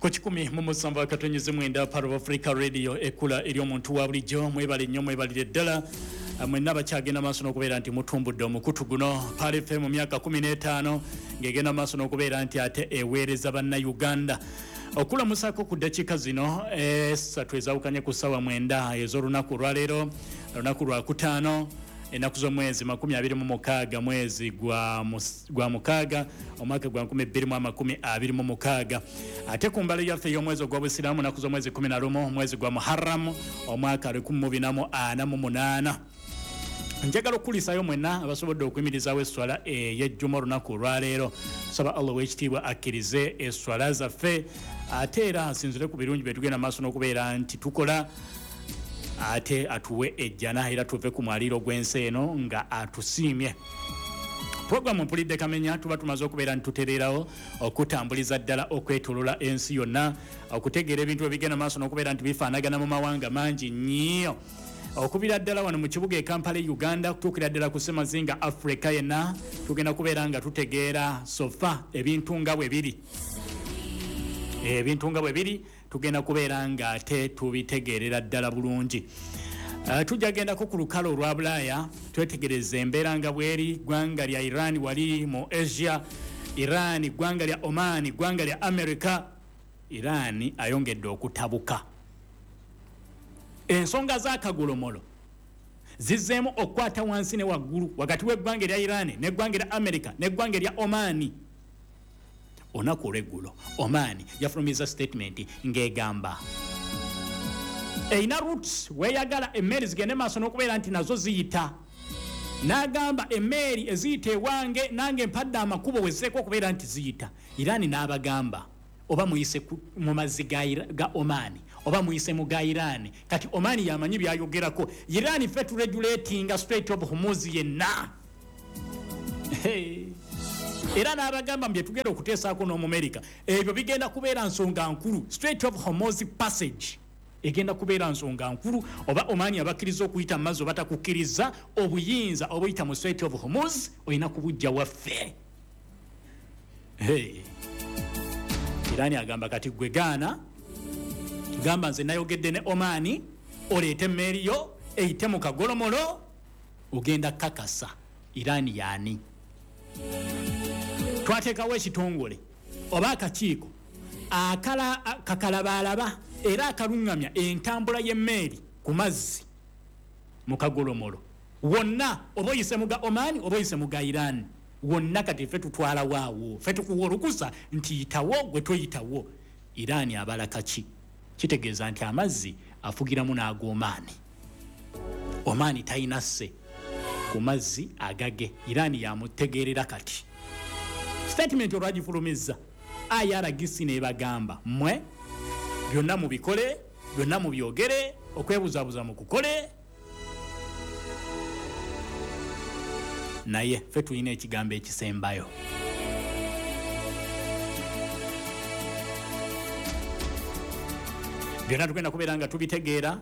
Ku 107.9 Part of Africa Radio, ekula eri omuntu wa bulijjo. Mwebale nnyo, mwebalire ddala mwenna bakyagenda maaso n'okubeera nti mutumbudde omukutu guno Pearl FM mu myaka 15 ng'egenda maaso n'okubeera nti ate eweereza Bannayuganda. Okulamusaako ku ddakiika zino 3 ezawukanye ku ssaawa 9 ez'olunaku olwaleero, olunaku lwakutaano, ennaku z'omwezi 26 mwezi gwa mukaaga omwaka gwa 2026. Ate ku mbala yaffe ey'omwezi ogw'Obusiraamu, ennaku z'omwezi 11 mwezi gwa Muharram omwaka 1448. Njagala okukulisaayo mwenna abasobodde okuyimirizaawo esswala ey'ejjuma olunaku olwaleero. Saba Allah ow'ekitiibwa akkirize esswala zaffe, ate era asinzire ku birungi bye tugenda maaso n'okubeera nti tukola, ate atuwe ejjana era tuve ku mwaliiro gw'ensi eno nga atusiimye. Puroguramu Mpulidde Kamenya tuba tumaze okubeera nti tutereerawo okutambuliza ddala okwetolola ensi yonna, okutegeera ebintu ebigenda maaso n'okubeera nti bifaanagana mu mawanga mangi nnyo, okubira ddala wano mu kibuga e Kampala Uganda, kutuukira ddala ku ssemazinga Africa yenna. Tugenda kubeera nga tutegeera sofa ebintu nga bwe biri, ebintu nga bwe biri tugenda kubeera nga ate tubitegeerera ddala bulungi. Tujja gendako ku lukalo olwa Bulaaya twetegereze embeera nga bweri. Ggwanga lya Iran wali mu Asia, Iran ggwanga lya Oman, ggwanga lya America. Iran ayongedde okutabuka. Ensonga z'akagolomolo zizzeemu okukwata wansi ne waggulu wakati w'eggwanga erya Iran n'eggwanga erya America n'eggwanga erya Oman. Olunaku olw'eggulo Oman yafulumiza statement ng'egamba erina routes weeyagala emmeeri zigende maaso n'okubeera nti nazo ziyita. N'agamba emmeeri eziyita ewange nange mpadde amakubo wezeeko okubeera nti ziyita. Iran n'abagamba oba muyise mu mazzi ga Oman oba muyise mu ga Iran. Kati Oman yamanyi byayogerako. Iran ffe turegulatinga Strait of Hormuz yenna. Era n'abagamba bye tugenda okuteesaako n'Omumerika ebyo bigenda kubeera nsonga nkulu. Strait of Hormuz passage egenda kubeera nsonga nkulu, oba Oman abakkiriza okuyita mu mazzi oba takukkiriza, obuyinza obuyita mu Strait of Hormuz olina kubujja waffe. Iran agamba kati gwe gaana, gamba nze nayogedde ne Oman oleete emmeeri yo eyite mu kagolomolo, ogenda kakasa Iran yaani. Twateekawo ekitongole oba akakiiko kakalabaalaba era akaluŋŋamya entambula y'emmeeri ku mazzi mu kagolomolo wonna, oba oyise mu ga Oman oba oyise mu ga Iran wonna. Kati ffe tutwala waawo, ffe tukuwa olukusa nti yitawo gwe toyitawo. Iran abala kaki? Kitegeeza nti amazzi afugiramu n'ag'Oman. Oman talina sse ku mazzi agage, Iran yamutegeerera. Kati statement olwagifulumizza IRGC n'ebagamba mmwe byonna mubikole, byonna mubyogere, okwebuzabuza mukukole, naye ffe tulina ekigambo ekisembayo. Byonna tugenda kubeera nga tubitegeera.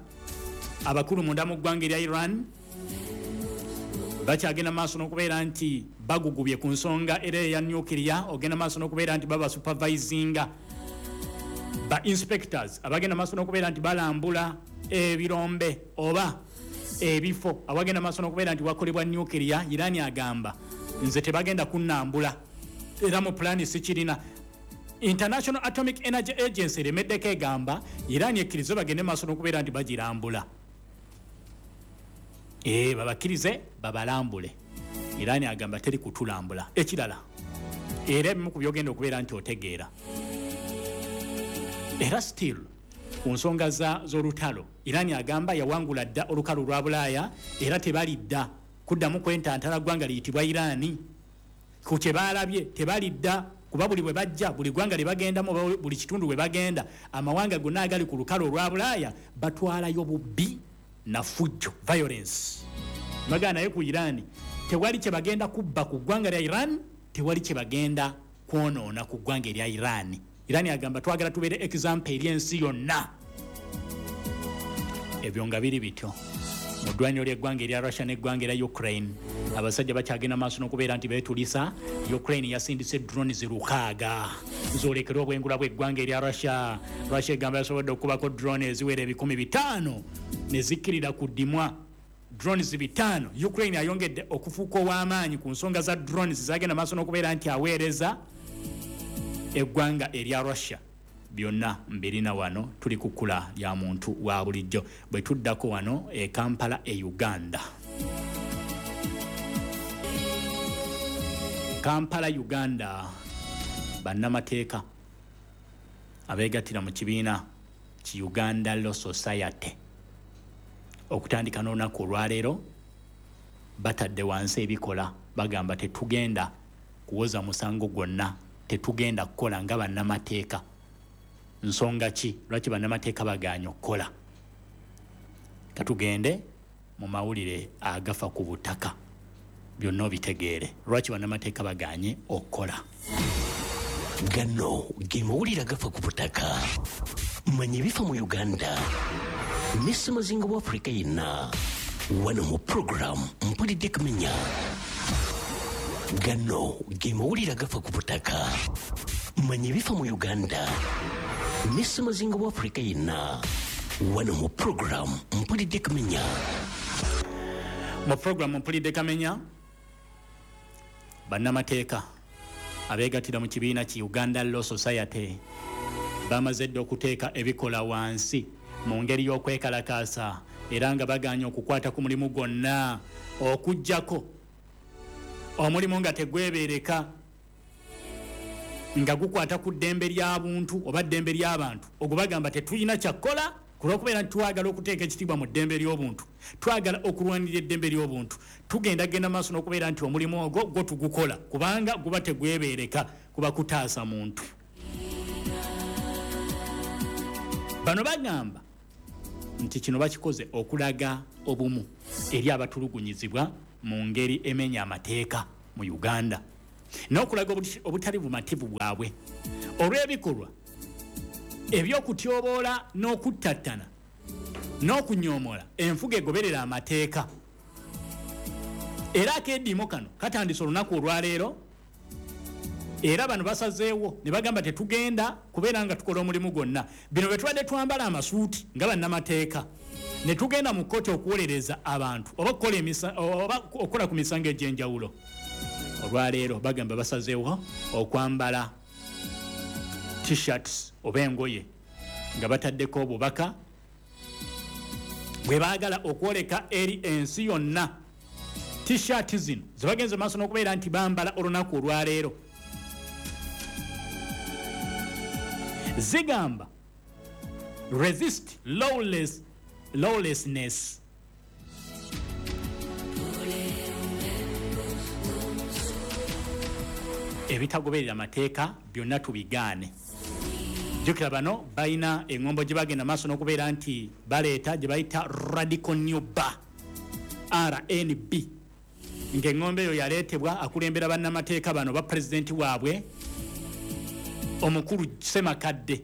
Abakulu munda mu ggwanga erya Iran bakyagenda maaso n'okubeera nti bagugubye ku nsonga era eya nuclear, ogenda maaso n'okubeera nti baba supervisinga ba inspectors abagenda maaso n'okubeera nti balambula ebirombe oba ebifo awagenda maaso n'okubeera nti wakolebwa nuclear. Iran agamba nze tebagenda kunnambula, era mu pulaani sikirina. International Atomic Energy Agency eremeddeko, egamba Iran ekkirize bagende maaso n'okubeera nti bagirambula, babakkirize babalambule. Iran agamba teri kutulambula. Ekirala era ebimu ku byogenda okubeera nti otegeera, era still ku nsonga z'olutalo, Iran agamba yawangula dda olukalu lwa Bulaaya era tebalidda kuddamu kwentantala ggwanga liyitibwa Iran. Ku kye baalabye tebalidda, kuba buli bwe bajja, buli ggwanga lye bagendamu oba buli kitundu bwe bagenda, amawanga gonna agali ku lukalu olwa Bulaaya batwalayo bubbi na fujjo, violence. Bagamba naye ku Iran tewali kye bagenda kubba ku ggwanga lya Iran, tewali kye bagenda kwonoona ku ggwanga erya Iran. Iran agamba twagala tubeere example eri ensi yonna. Ebyo nga biri bityo, Mu ddwaniro ly'eggwanga erya Russia n'eggwanga erya Ukraine, abasajja bakyagenda maaso n'okubeera nti beetulisa. Ukraine yasindise drones 600 zoolekera obwengula bw'eggwanga erya Russia. Russia egamba yasobodde okukubako drone eziwera 500 ne zikkirira ku ddimwa. Drones 500. Ukraine ayongedde okufuuka ow'amaanyi ku nsonga za drones zagenda maaso n'okubeera nti aweereza eggwanga erya Russia. Byonna mbirina wano, tuli ku kkula lya muntu wa bulijjo. Bwe tuddako wano e Kampala e Uganda, Kampala Uganda, bannamateeka abeegattira mu kibiina ki Uganda Law Society okutandika n'olunaku olwaleero batadde wansi ebikola. Bagamba tetugenda kuwoza musango gwonna, tetugenda kukola nga bannamateeka. Nsonga ki lwaki bannamateeka bagaanye okukola? Katugende mu mawulire agafa ku butaka, byonna obitegeere lwaki bannamateeka bagaanye okukola. Gano ge mawulire agafa ku butaka. Manya ebifa mu Uganda ne ssemazinga wa Afrika yenna wano mu puroguramu Mpulidde Kamenya. Gano ge mawulire agafa ku butaka. Manya ebifa mu Uganda ne ssemazinga wa Afrika yenna wano mu puroguramu Mpulidde Kamenya. Mu puroguramu Mpulidde Kamenya, bannamateeka abeegattira mu kibiina ki Uganda Law Society bamaze dda okuteeka ebikola wansi mu ngeri y'okwekalakaasa, era nga bagaanye okukwata ku mulimu gwonna okuggyako omulimu nga tegwebeereka, nga gukwata ku ddembe lya buntu oba ddembe ly'abantu. Ogwo bagamba tetulina kyakukola ku lw'okubeera nti twagala okuteeka ekitiibwa mu ddembe ly'obuntu, twagala okulwanirira eddembe ly'obuntu. Tugenda genda maaso n'okubeera nti omulimu ogwo gwo tugukola kubanga guba tegwebeereka, kuba kutaasa muntu. Bano bagamba nti kino bakikoze okulaga obumu eri abatulugunyizibwa mu ngeri emenya amateeka mu Uganda, n'okulaga obutali bumativu bwabwe olw'ebikolwa ebyokutyoboola n'okuttattana n'okunyoomola enfuga egoberera amateeka. Era akeediimo kano katandise olunaku olwaleero, era bano basazeewo ne bagamba tetugenda kubeera nga tukola omulimu gwonna. Bino bwe tubadde twambala amasuuti nga bannamateeka ne tugenda mu kkooti okuwolereza abantu oba okukola ku misango egy'enjawulo, olwaleero bagamba basazeewo okwambala t-shirts oba engoye nga bataddeko obubaka bwe baagala okwoleka eri ensi yonna. T-shirt zino ze bagenze maaso n'okubeera nti bambala olunaku olwaleero zigamba resist lawlessness. Ebitagoberera amateeka byonna tubigaane. Jjukira bano balina eŋŋombo gye bagenda maaso n'okubeera nti baleeta gye bayita Radical New Bar, RNB, ng'eŋŋombo eyo yaleetebwa akulembera bannamateeka bano ba pulezidenti waabwe omukulu Ssemakadde,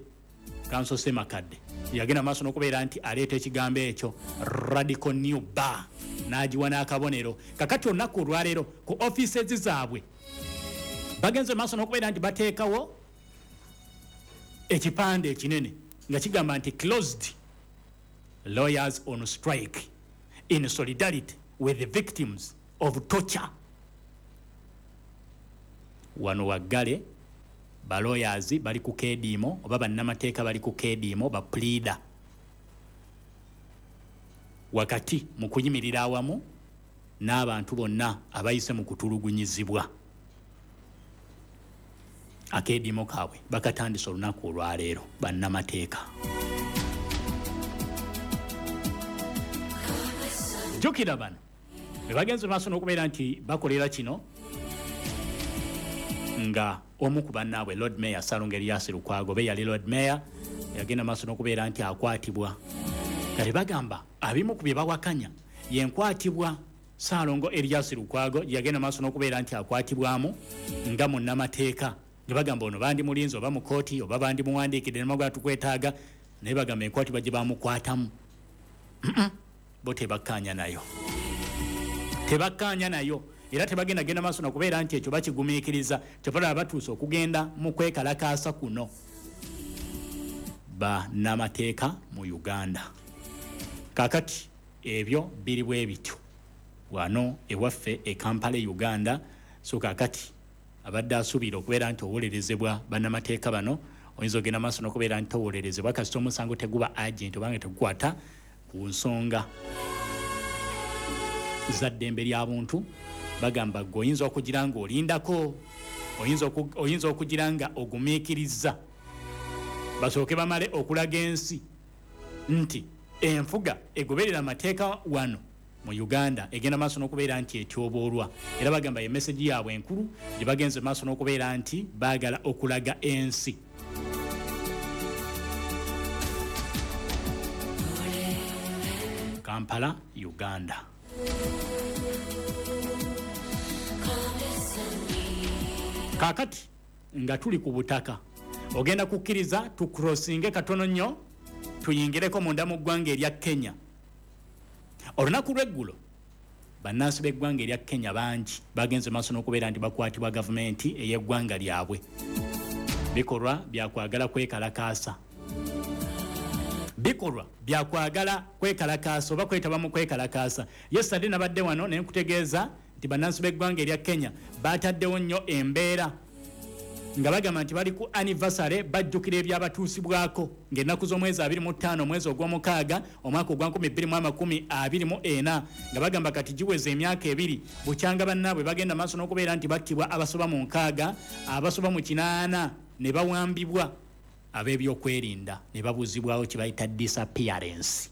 Kanso Ssemakadde, yagenda maaso n'okubeera nti aleeta ekigambo ekyo Radical New Bar n'agiwa n'akabonero. Kakati olunaku olwaleero ku offices zaabwe bagenze maaso n'okubeera nti bateekawo ekipande ekinene nga kigamba nti closed, lawyers on strike in solidarity with the victims of torture. Wano waggale, balawyers bali ku keediimo oba bannamateeka bali ku keediimo, ba pleader wakati mu kuyimirira awamu n'abantu bonna abayise mu kutulugunyizibwa. Akeediimo kaabwe bakatandise olunaku olwaleero bannamateeka. Jjukira bano be bagenze maaso n'okubeera nti bakolera kino nga omu ku bannaabwe Lord Mayor Ssalongo Erias Lukwago be yali Lord Mayor yagenda maaso n'okubeera nti akwatibwa. Kale bagamba abimu ku bye bawakanya yenkwatibwa Ssalongo Erias Lukwago yagenda maaso n'okubeera nti akwatibwamu nga munnamateeka. Ne bagamba ono bandi mulinzi oba mu kkooti oba bandi muwandiikidde ne magwa tukwetaaga, naye bagamba enkwatibwa gye bamukwatamu. Bo tebakkaanya nayo, tebakkaanya nayo, era tebagenda genda maaso nakubeera nti ekyo bakigumiikiriza. Kyobalaba batuuse okugenda mu kwekalakaasa kuno bannamateeka mu Uganda. Kakati ebyo biri bwe bityo wano ewaffe e Kampala, Uganda. So kakati abadde asuubira okubeera nti owolerezebwa bannamateeka bano, oyinza ogenda maaso n'okubeera nti towolerezebwa kasita omusango teguba urgent obanga tegukwata ku nsonga za ddembe lya buntu. Bagamba gwe oyinza okugira nga olindako, oyinza okugira nga ogumiikiriza basooke bamale okulaga ensi nti enfuga egoberera amateeka wano mu Uganda egenda maaso n'okubeera nti etyoboolwa. Era bagamba ye message yaabwe enkulu gye bagenze maaso n'okubeera nti baagala okulaga ensi. Kampala, Uganda. Kaakati nga tuli ku butaka, ogenda kukkiriza tucrossinge katono nnyo tuyingireko munda mu ggwanga erya Kenya. Olunaku lw'eggulo bannansi b'eggwanga erya Kenya bangi bagenze maaso n'okubeera nti bakwatibwa gavumenti ey'eggwanga lyabwe. Bikolwa byakwagala kwekalakaasa, bikolwa byakwagala kwekalakaasa oba kwetaba mu kwekalakaasa. Yesterday nabadde wano ne nkutegeeza nti bannansi b'eggwanga erya Kenya bataddewo nnyo embeera nga bagamba nti bali ku anniversary, bajjukira ebyabatuusibwako ng'ennaku z'omwezi 25 omwezi ogw'omukaaga omwaka ogwa 2024, nga bagamba kati giweza emyaka 2 bukyanga bannaabwe bagenda maaso n'okubeera nti battibwa abasoba mu 60, abasoba mu 8 ne bawambibwa ab'ebyokwerinda ne babuzibwawo kye bayita disappearance.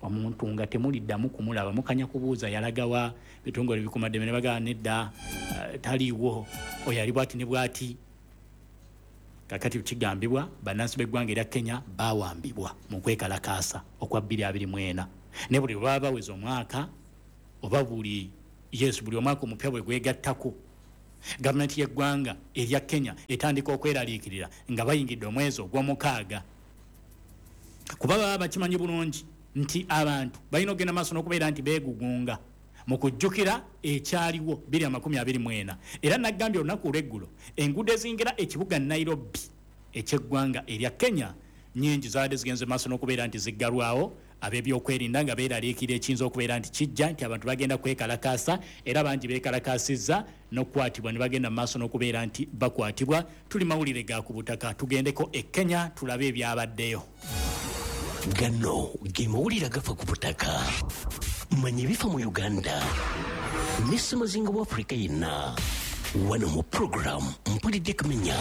Omuntu nga temuliddamu kumulaba, mukanya kubuuza yalagawa, bitongole bikumaddembe ne bagamba nedda, taliiwo, oyo ali bwati ne bwati. Kakati kigambibwa bannansi b'eggwanga erya Kenya bawambibwa mu kwekalakaasa okwa 2024, ne buli lwe baba baweza omwaka oba buli yes buli omwaka omupya bwe gwegattako, gavumenti y'eggwanga erya Kenya etandika okweraliikirira nga bayingidde omwezi ogw'omukaaga, kuba baba bakimanyi bulungi nti abantu balina okugenda maaso n'okubeera nti beegugunga mu kujjukira ekyaliwo 2024. Era nagambye olunaku olw'eggulo enguudo eziyingira ekibuga Nairobi ekyeggwanga erya Kenya nyingi zaabadde zigenze maaso n'okubeera nti ziggalwawo ab'ebyokwerinda nga beeraliikirira ekiyinza okubeera nti kijja nti abantu bagenda kwekalakaasa, era bangi beekalakaasizza n'okukwatibwa ne bagenda mu maaso n'okubeera nti bakwatibwa. Tuli mawulire ga ku butaka, tugendeko e Kenya tulabe ebyabaddeyo. Gano ge mawulire agafa ku butaka. Manya ebifa mu Uganda ne ssemazinga wa Afrika yenna wano mu program Mpulidde Kamenya.